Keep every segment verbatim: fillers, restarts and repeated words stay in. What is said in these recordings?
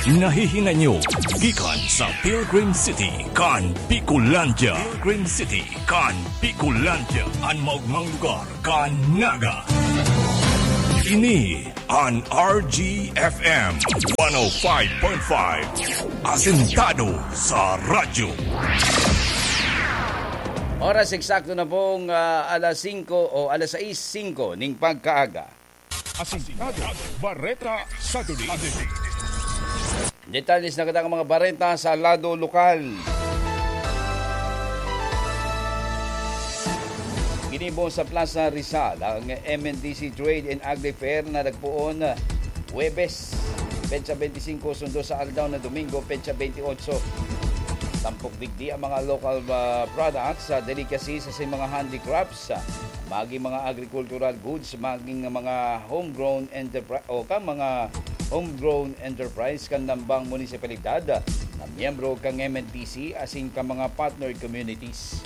Nahihinay nyo gikan sa Pilgrim City kan Bicolandia. Pilgrim City kan Bicolandia, an maogmang lugar kan Naga. Ini an R G F M one oh five point five, asentado sa radyo. Oras eksakto na pong, ah, alas singko o alas sais singko ning pagkaaga. Asintado, Bareta sa Duli. Detalles na kita mga bareta sa lado lokal. Ginibo sa Plaza Rizal ang M N D C Trade and Agri Fair na nagpoon Huwebes, petsa twenty-cinco, sundo sa aldaw na Domingo, petsa twenty-eight. Tampok digdi ang mga local, ah, products, ah, delicacies sa mga handicrafts, ah, maging mga agricultural goods, maging mga homegrown enterpri-, o kan mga homegrown enterprise kan nambang munisipalidad, ah, na miyembro kan M N D C asin kan mga partner communities.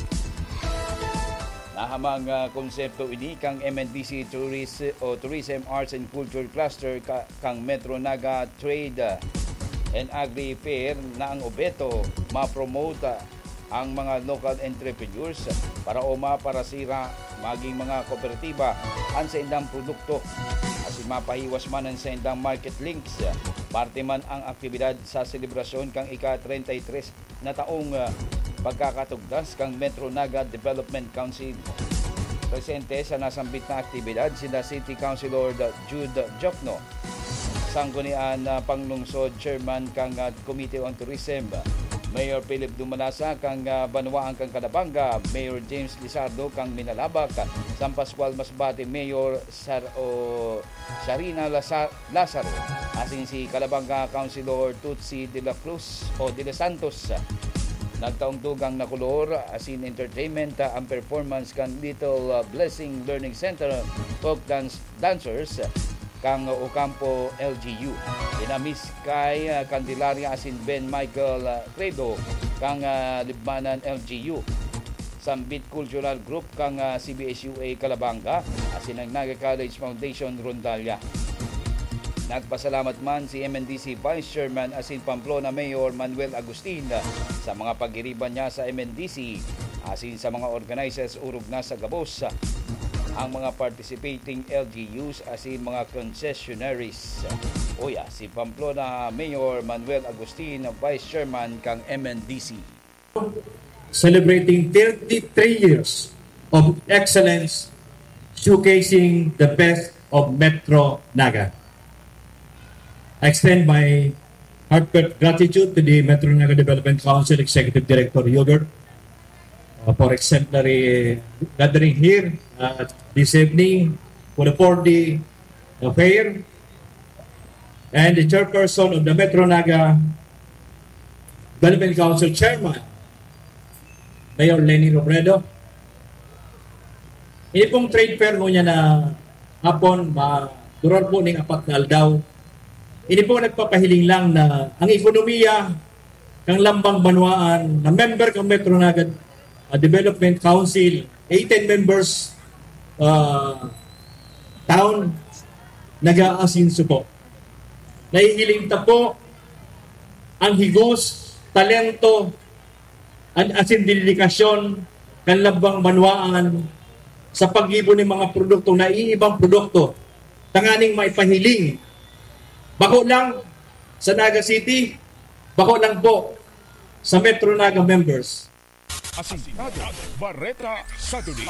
Nahamang, ah, konsepto ini kan M N D C Touris-, o Tourism, Arts and Culture Cluster ka-, kan Metro Naga Trade, ah, and Agri Fair na ang obheto ma-promote, ah, ang mga local entrepreneurs para o maparasira maging mga kooperatiba an saindang produkto asin mapahiwas man an saindang market links. Parte man ang aktibidad sa selebrasyon kan ika-treinta y tres na taong, ah, pagkakatugdas kan Metro Naga Development Council. Presente sa nasambit na aktibidad sina City Councilor Jude Jokno, Sanggunian na Panglungsod Chairman kan, ah, Committee on Tourism, Mayor Philip Dumalasa kan, ah, Banwaan kan Calabanga, Mayor James Lizardo kan Minalabac, San Pascual Masbate Mayor Sar-, o Sharina Lasa-, Lazaro, asin si Calabanga Councilor Tutsi de la Cruz o de los Santos. Nagtaong dugang na kolor asin entertainment, ah, ang performance kan Little, ah, Blessing Learning Center folk dance dancers kan Ocampo L G U. Sina Miss Kai, ah, Candelaria asin Ben Michael, ah, Credo kan, ah, Libmanan L G U. Sambit Cultural Group kan, ah, C B S U A Calabanga asin ang Naga College Foundation Rondalia. Nagpasalamat man si M N D C Vice Chairman asin Pamplona Mayor Manuel Agustin sa mga pagiriba niya sa M N D C asin sa mga organizers orog na sa gabos ang mga participating L G Us asin mga concessionaries. Uya, si Pamplona Mayor Manuel Agustin, Vice Chairman kan M N D C. Celebrating thirty-three years of excellence, showcasing the best of Metro Naga. I extend my heartfelt gratitude to the Metro Naga Development Council Executive Director Yogurt, uh, for exemplary gathering here, uh, this evening for the four-day, uh, fair, and the chairperson of the Metro Naga Development Council Chairman, Mayor Leni Robredo. Ini pong trade fair ngunyan na hapon, ma-, duror po ning apat na aldaw. Ini po nagpapahiling lang na ang ekonomiya kan lambang banwaan na member kan Metro Naga, ah, Development Council, eighteen members, ah, town, nag-aasinso po. Nahihiling ta po ang higos, talento, an-, asin dedikasyon kan lambang banwaan sa paggibo nin mga produkto, naiibang produkto, tanganing maipahiling bako lang sa Naga City, bako lang po sa Metro Naga members. Asintado, Bareta sa Duli.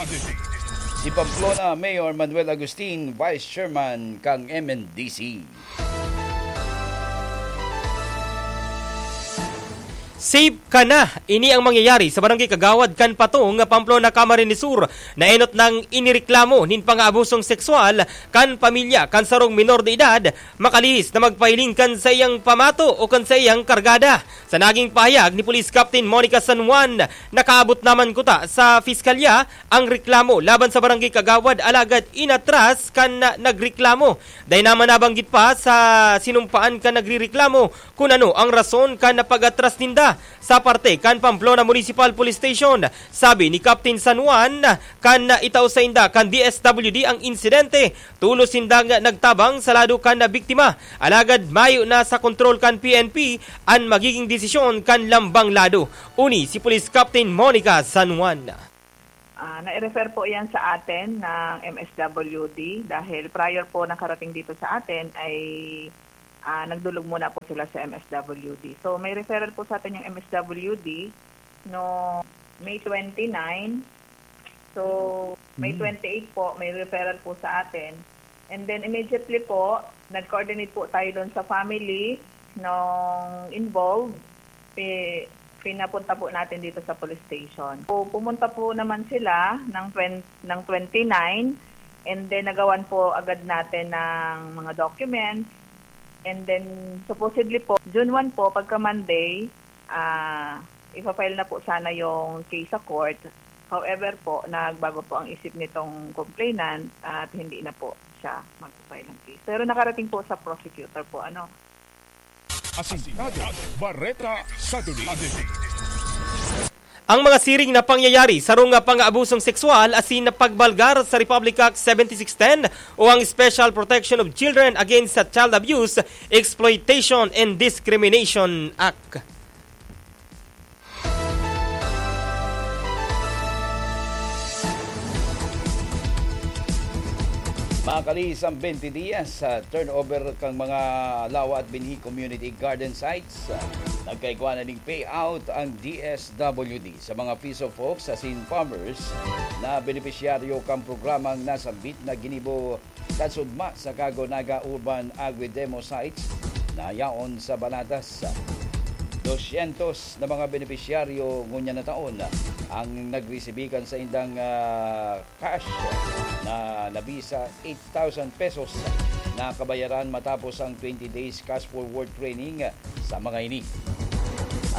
Si Pamplona Mayor Manuel Agustin, Vice Chairman kan M N D C. Safe ka na! Ini ang mangyayari sa Barangay Kagawad kan Patong, Pamplona, Camarines Sur, na enot nang inireklamo nin pangaabusong sexual kan pamilya kan sarong minor de edad, makalihis na magpahiling kan saiyang pamato o kan saiyang kargada. Sa naging pahayag ni Police Captain Monica San Juan, nakaabot naman kuta sa piskalya ang reklamo laban sa Barangay Kagawad, alagad inatras kan nagreklamo. Dai naman nabanggit pa sa sinumpaan kan nagrereklamo kun ano ang rason kan pag-atras ninda. sa parte kan Pamplona Municipal Police Station. Sabi ni Captain San Juan, kan itao sainda kan D S W D ang insidente, tolos sindang nagtabang sa lado kan biktima. Alagad mayo na sa kontrol kan P N P an magiging desisyon kan lambang lado. Uni si Police Captain Monica San Juan. Ah, nai-refer po yan sa atin ng M S W D dahil prior po nakarating dito sa atin ay, ah, nagdulog muna po sila sa M S W D. So, may referral po sa atin yung M S W D no May twenty-nine. So, May Mm. twenty-eight po, may referral po sa atin. And then, immediately po, nag-coordinate po tayo doon sa family nung involved. Pi-, pinapunta po natin dito sa police station. So, pumunta po naman sila ng twen-, ng twenty-nine. And then, nagawan po agad natin ng mga documents. And then, supposedly po, June one po, pagka Monday, ah, ipa-file na po sana yung case sa court. However po, nagbago po ang isip nitong complainant at hindi na po siya magpa-file ng case. Pero nakarating po sa prosecutor po, ano. Asintado, Bareta, Saturday. Ang mga siring na pangyayari, sarong nga pang-aabusong sexual asin pagbalgar sa Republic Act seventy-six ten o ang Special Protection of Children Against Child Abuse, Exploitation and Discrimination Act. Makalihis ang twenty dias sa turnover kan mga lawa at binhi community garden sites. Nagkaigwa na ning payout ang D S W D sa mga Peace of Hope asin farmers na benepisyaryo kan programang nasambit na ginibo kasudma sa Kago Naga Urban Agri-Demo Sites na yaon sa Banatas. Dosyentos na mga benepisyaryo ngunyan na taon ang nagresibi kan saindang, ah, cash na nabisa eight thousand pesos na kabayaran matapos ang twenty days cash forward training sa mga ini.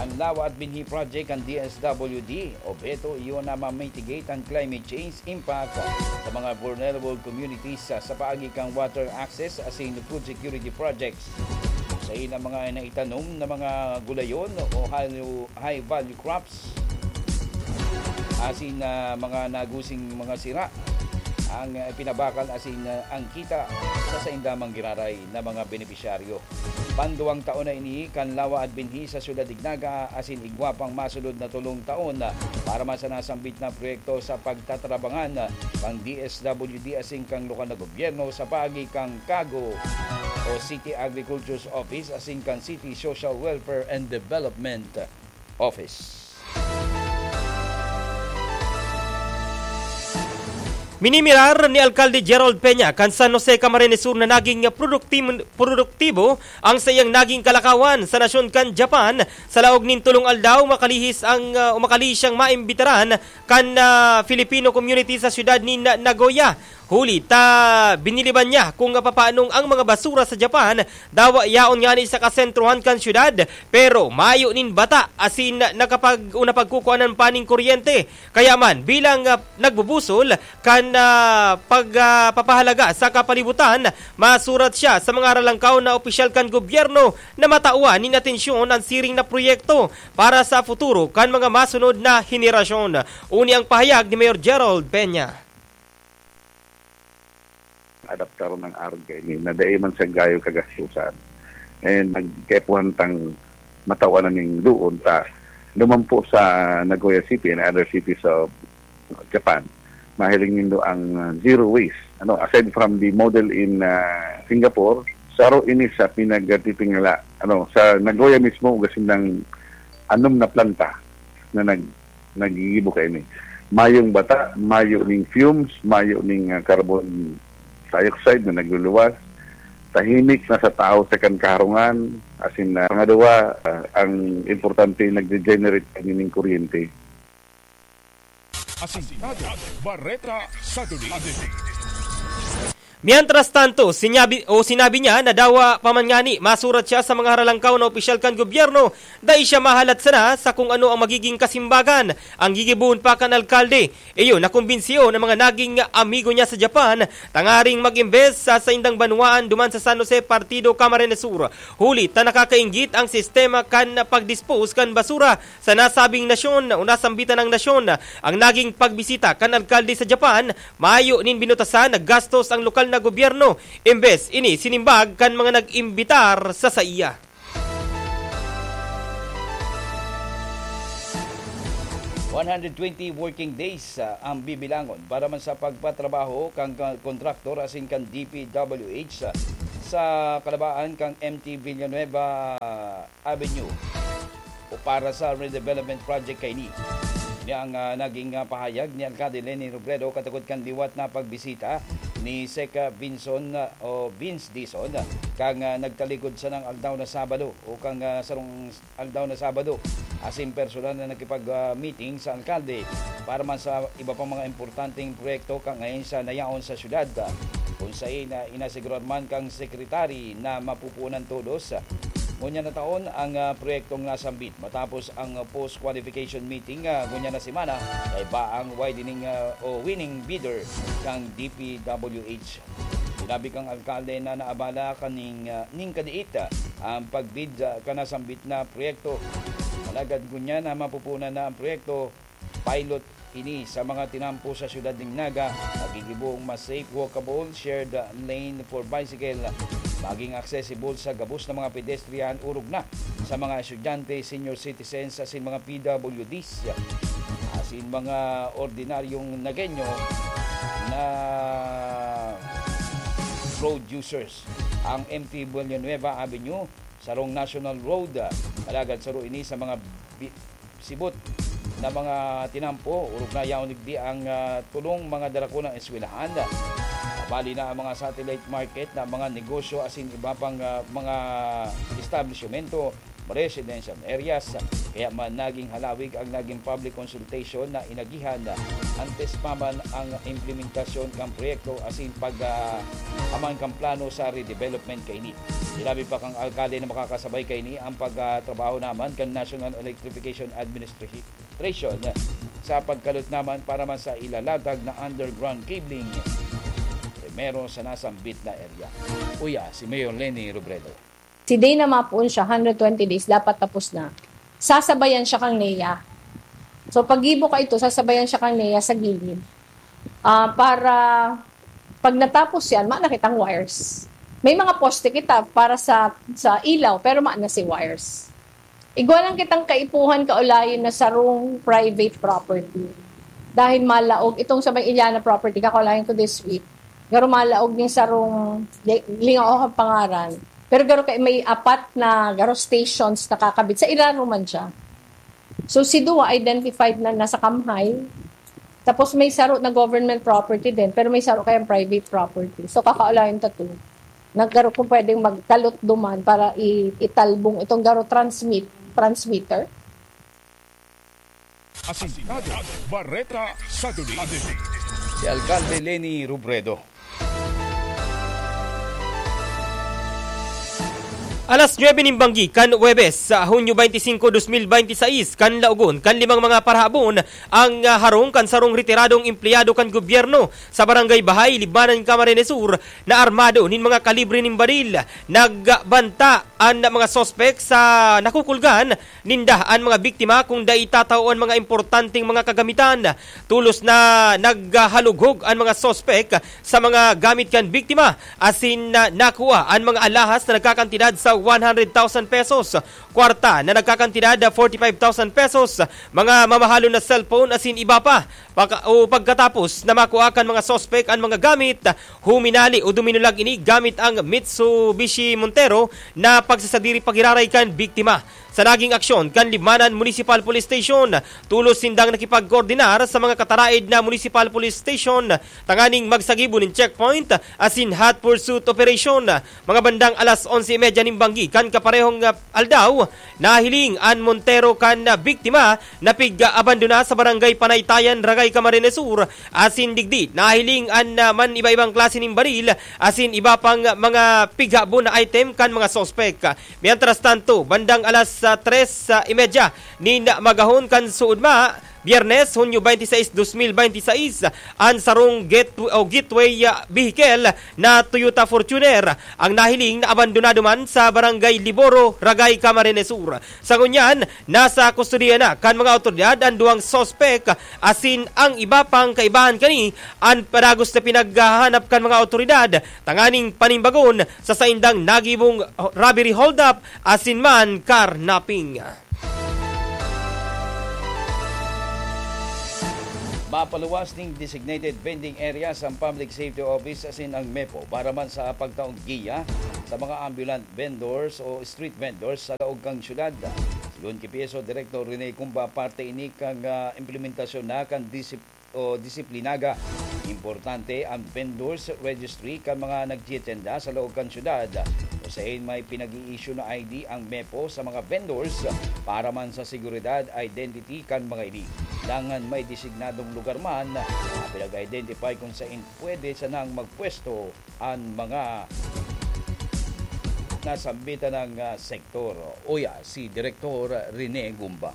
Ang Lawa at Binhi Project kan D S W D, obheto iyon na ma-mitigate ang climate change impact sa mga vulnerable communities sa, sa paagi kan water access asin food security projects. Sain ang mga naitanom na mga gulayon o high, high value crops asin, ah, mga nagusing mga sira ang, ah, pinabakal asin, ah, ang kita sa sainda mang giraray na mga benepisyaryo. Panduwang taon na ini kan Lawa at Binhi sa Syudad Ignaga asin igwa pang masunod na tolong taon para man sa nasambit na proyekto sa pagtatabangan kan D S W D asin kan lokal na gobyerno sa paagi kan Kago o City Agriculture's Office asin kan City Social Welfare and Development Office. Minimirar ni Alkalde Gerald Peña kan San Jose, Camarines Sur na naging produktim-, produktibo ang saiyang naging kalakawan sa nasyon kan Japan. Sa laog nin tolong aldaw, makalihis ang, ah, o makalihis siyang maimbitaran kan, ah, Filipino community sa siyudad nin Nagoya. Huli ta biniliban niya kung papanong ang mga basura sa Japan dawa yaon ngani sa kasentrohan kan syudad, pero mayo nin bata asin nakapag-, o napagkukuanan pa nin kuryente. Kaya man, bilang, ah, nagbubusol kan, ah, pag, ah, papahalaga sa kapalibutan, masurat siya sa mga ralangkaw na opisyal kan gobyerno na matawan nin atensyon an siring na proyekto para sa futuro kan mga masunod na henerasyon. Uni ang pahayag ni Mayor Gerald Peña. Adaptar ng arog kaini na dai man siya gayo kagastusan. And nagkaipuhan tang matawan na ning doon ta lumampo sa Nagoya City and other cities of Japan. Mahiling nindo ang, uh, zero waste. Ano, aside from the model in, uh, Singapore, saro ini sa pinagtitingala, ano, sa Nagoya mismo, ugasin ng anom na planta na nag-, nagigibo kaini. Mayong bata, mayo ning fumes, mayo ning, ah, carbon dioxide na nagluluwas. Tahimik na sa tao sa kan kaharungan. As in, ah, pangaduwa, ah, ang importante, nagde-generate kami ning kuryente. Asintado, Bareta, Saturday. Mientras tanto, sinyabi, o sinabi niya na dawa pa man ngani masurat siya sa mga haralangkaw na opisyal kan gobyerno, dai siya mahalat sana sa kung ano ang magiging kasimbagan ang gigibohon pa kan alkalde. Iyo, nakumbinsiyon ang mga naging amigo niya sa Japan tangaring mag-imbes sa saindang banwaan duman sa San Jose, Partido Camarines Sur. Huli ta nakakainggit ang sistema kan pagdispose kan basura sa nasabing nasyon o nasambitan ng nasyon. Ang naging pagbisita kan alkalde sa Japan, mayo nin binutasan na gastos ang lokal na gobyerno, imbes ini sinimbag kan mga nag-imbitar sa saiya. One hundred twenty working days, ah, ang bibilangon para man sa pagpatrabaho kan ka-, kontraktor asin kan D P W H, ah, sa kalabaan kan M T Villanueva Avenue o para sa redevelopment project kaini. Ini ang, ah, naging, ah, pahayag ni Alcalde Leni Robredo katukod kan liwat na pagbisita ni Sec, ah, Vinson, ah, o Vince Dizon, ah, kan, ah, nagtalikod sanang aldaw na Sabado o kan, ah, sarong aldaw na Sabado, asin personal na nakipag, ah, meeting sa alkalde para man sa iba pang mga importanteng proyekto kan ngayon sa nayaon sa syudad, ah, kun saen na inasigurar man kan sekretary na mapupunan todos, ah, ngunyan na taon ang, ah, proyektong nasambit matapos ang, ah, post-qualification meeting, ah, ngunyan na semana kaiba ang widening, ah, o winning bidder kan D P W H. Sinabi kan alkalde na naabala kaning, ah, ning kadiit, ah, ang pagbid, ah, kan nasambit na proyekto. Alagad ngunyan na mapupunan na ang proyekto, pilot ini sa mga tinampo sa siyudad nin Naga, magigibong mas safe, walkable, shared, ah, lane for bicycle, maging accessible sa gabos na mga pedestrian, orog na sa mga estudyante, senior citizens, asin mga P W Ds, asin mga ordinaryong Nagueño na road users. Ang M T Villanueva Avenue, sarong national road, ah, alagad saro ini sa mga bi-, sibot na mga tinampo, orog na yaon digdi ang, ah, tulong mga darakunang eskwelahan. Bali na ang mga satellite market na mga negosyo asin iba pang, ah, mga establishmento, residential areas. Kaya man naging halawig ang naging public consultation na inagihan antes pa man ang implementasyon kan proyekto asin pag, ah, aman kan plano sa redevelopment kaini. Sinabi pa kan alkalde na makakasabay kaini ang pagtrabaho naman kan National Electrification Administration sa pagkalot naman para man sa ilalatag na underground cabling primero sa nasambit na area. Uya, si Mayor Leni Robredo. Si Dana mapoon siya, hundred twenty days, dapat tapos na. Sasabayan siya kang NEA. So, pag-ibo ka ito, sasabayan siya kang NEA sa gilid. Ah, para pag natapos yan, maana kitang wires. May mga poste kita para sa sa ilaw, pero maana si wires. Igwa lang kitang kaipuhan kaulayon na sarong private property. Dahil malaog itong sa may Iliana property, kakulayan ko this week. Garo malaog ning sarong, di, lingaw ako ang pangaran. Pero garo kay may apat na garo stations nakakabit. Sa ilarom man siya. So si Dua identified na nasa Kamhay. Tapos may saro na government property din, pero may saro kayang private property. So kakaulayan ta to. Naggaro kung pwedeng magkalot duman para i- italbong itong garo transmit transmitter. Asintado, Bareta sa Duli. Si Alkalde Leni Robredo. Alas nuebe nin banggi kan Huwebes, sa Hunyo twenty-five, twenty twenty-six, kan laogon kan limang mga parahabon ang ah, harong kan sarong retiradong empleyado kan gobyerno sa Barangay Bahay, Libmanan, Camarines Sur, na armado nin mga kalibre nin baril. Nagbanta an mga suspek sa nakukulgan ninda an mga biktima kung dai tatao an mga importanteng mga kagamitan. Tulos na naghalughog an mga suspek sa mga gamit kan biktima asin na nakua an mga alahas na nagkakantidad sa one hundred thousand pesos, kwarta na nagkakantidad forty-five thousand pesos, mga mamahalon na cellphone asin iba pa. Pagka, o pagkatapos na makua kan mga suspek an mga gamit, huminali o duminulag ini gamit ang Mitsubishi Montero na pagsasadiri pagiraray kan biktima. Sa naging aksyon kan Libmanan Municipal Police Station, tulos sindang nakipagkoordinar sa mga kataraed na Municipal Police Station tanganing magsagibo nin checkpoint asin hot pursuit operation. Mga bandang alas onse y media nin banggi kan kaparehong, ah, aldaw, nahiling an montero kan, ah, biktima na pig-abandona sa Barangay Panaytayan, Ragay, Camarines Sur, asin digdi nahiling an, ah, man iba-ibang klase nin baril asin iba pang mga pighabon na item kan mga suspek. Mientras tanto, bandang alas, ah, tres, ah, y media nin magahon kan suodma, Biyernes, Hunyo twenty-six, dos mil twenty-six, an sarong get-, o gateway, ah, vehicle na Toyota Fortuner ang nahiling na abandonado man sa Barangay Liboro, Ragay, Camarines Sur. Sa ngunyan, nasa kustodiya na kan mga awtoridad an duwang suspek asin ang iba pang kaibahan kani an padagos na pinaghahanap kan mga awtoridad tanganing panimbagon sa saindang nagibong robbery hold-up asin man carnapping. Mapaluwas ning designated vending areas ang Public Safety Office asin ang mepo para man sa pagtaong giya sa mga ambulant vendors o street vendors sa laog kan syudad. Sigon ki P S O Director Rene Gumba, parte ini kan, ah, implementasyon na kan disip-, o disiplinaga. Importante ang vendors registry kan mga nagtitenda sa laog kan syudad. Usain may pinag-i-issue na I D ang mepo sa mga vendors para man sa seguridad, identity kan mga ini. Dangan may designadong lugar man na pinag-identify kung sain pwede sanang magpwesto an mga nasambitan ng, ah, sektor. Uya si Direktor Rene Gumba.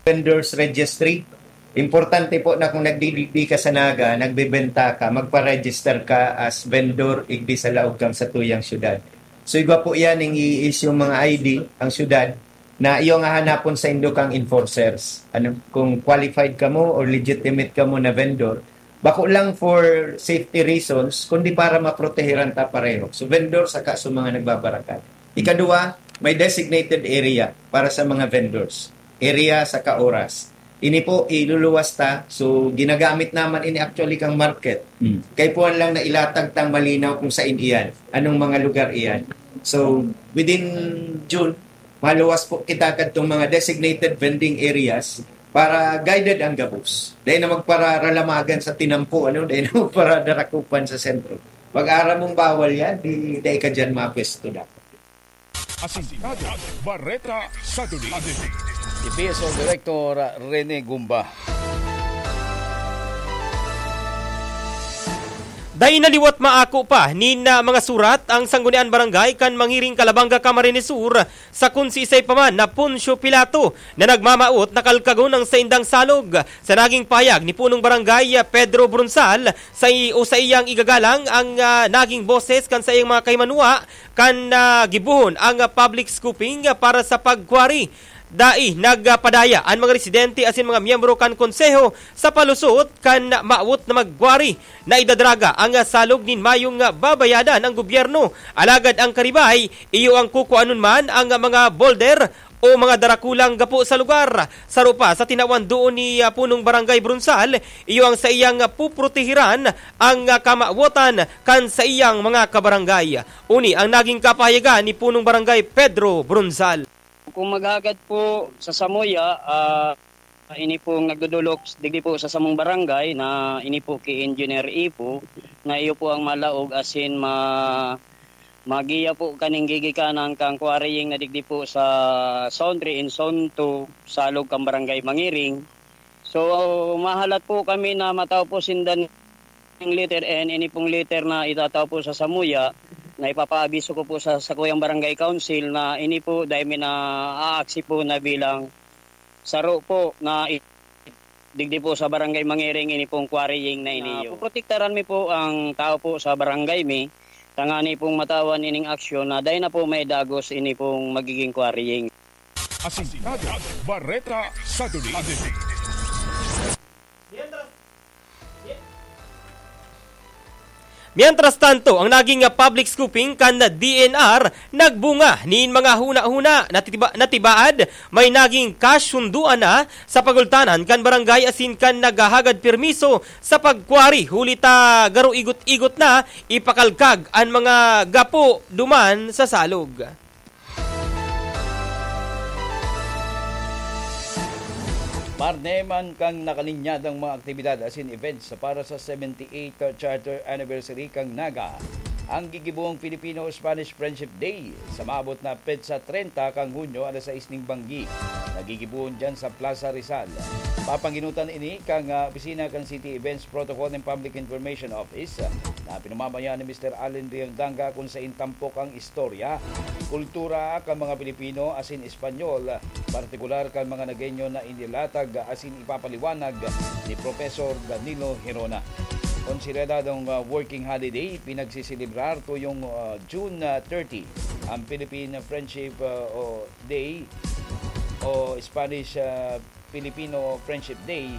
Vendors registry. Importante po na kung nagdidigdi ka sa Naga, nagbebenta ka, magpa-register ka as vendor igdi sa laog kan satuyang syudad. So, igwa po yan, yung i-issue mga I D ang syudad na iyong hahanapon sa indo kang enforcers. Ano, kung qualified ka mo or legitimate ka mo na vendor, bako lang for safety reasons, kundi para maprotehiran ta pareho. So, vendor saka sa mga nagbabarakal. Ikadua, may designated area para sa mga vendors. Area saka oras. Ini po, iluluwas ta. So, ginagamit naman ini actually kang market. Mm. Kaipuhan lang na ilatag tang malinaw kung saan iyan, anong mga lugar iyan. So, within June, maluwas po kita kadtong mga designated vending areas para guided ang gabos. Dahil na magpararalamagan sa tinampo, ano? Dahil na magparadarakupan sa sentro. Pag aram mong bawal yan, di, di ka dyan mapwesto dapat. Asintado, Bareta sa Duli. Si P S O Director Rene Gumba. Dai na liwat maako pa nin, ah, mga surat ang Sangguniang Barangay kan Mangiring, Calabanga, Camarines Sur, sa kun siisay pa man na Poncio Pilato na nagmamawot na kalkagon ang saindang salog. Sa naging pahayag ni Punong Barangay, ah, Pedro Brunzal, sa i-, o sa iyang igagalang ang, ah, naging boses kan saiyang mga kahimanwa kan, ah, gibohon ang, ah, public scooping, ah, para sa pagkwari. Dai nagpadaya an mga residente asin mga miyembro kan konseho sa palusot kan mawot na magkwari na idadraga ang, ah, salog nin mayong, ah, babayadan ang gobyerno. Alagad ang karibay, iyo ang kukuanon man ang, ah, mga boulder o mga darakulang gapo sa lugar. Saro pa sa tinawan doon ni, ah, Punong Barangay Brunzal, iyo ang saiyang, ah, puprotehiran ang, ah, kamawotan kan saiyang mga kabarangay. Uni ang naging kapahayagan ni Punong Barangay Pedro Brunzal. Kung maghagad po sa samuya, ah, ini pong nagdodolok digdi po sa samong barangay na ini po ki Engineer Ipo, na iyo po ang malaog asin ma-, magiya po kaning gigikanan kang quarrying na digdi po sa Zone three and Zone two, salog kang Barangay Mangiring. So, mahalat po kami na matao po sinda ng letter N, ini pong letter na itatao po sa samuya, na ipapaabiso ko po sa sakuyang barangay council na ini po dahil may naaaksi po na bilang saro po na i-, digdi po sa barangay Mangiring ini pong quarrying na iniyo. Puprotektaran mi po ang tao po sa barangay mi, tangani pong matawan ining aksyon na dai na po may dagos ini pong magiging quarrying. Asintado, Bareta sa Duli. Mientras tanto, ang naging, ah, public scooping kan D N R nagbunga nin mga huna-huna. Natiba-, natibaad, may naging kasunduan na sa pagultanan kan barangay asin kan naghahagad permiso sa pagkwari, huli ta garo igot-igot na ipakalkag an mga gapo duman sa salog. Parneman kan nakalinyadang mga aktibidad asin events para sa seventy-eighth Charter Anniversary kan Naga, ang gigibong Filipino-Spanish Friendship Day sa maabot na petsa treinta kan Hunyo, alas sais ning banggi. Nagigibohon diyan sa Plaza Rizal. Papanginutan ini kan, ah, opisina kan City Events Protocol and Public Information Office, ah, na pinamamayan ni Mister Allen Riondanga, kun sain tampok ang istorya, kultura kan mga Pilipino asin Espanyol, partikular kan mga Nagueño na inilatag asin ipapaliwanag ni Professor Danilo Hirona. Konsideradong, ah, working holiday, pinagsiselebrar tuyong, ah, June, ah, thirty, ang Philippine Friendship, ah, o Day o Spanish, ah, Filipino Friendship Day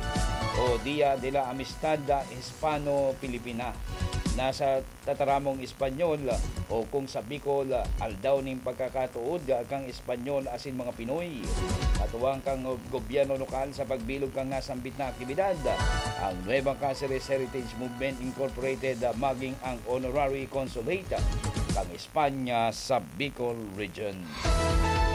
o Dia de la Amistad Hispano-Filipina. Nasa tataramong Espanyol o kung sa Bicol, Aldaw nin Pagkakatuod kan Espanyol asin mga Pinoy. Katuwang kan gobyerno lokal sa pagbilog kan nasambit na aktibidad, ang Nueva Caceres Heritage Movement Incorporated maging ang honorary consulate kan Espanya sa Bicol Region.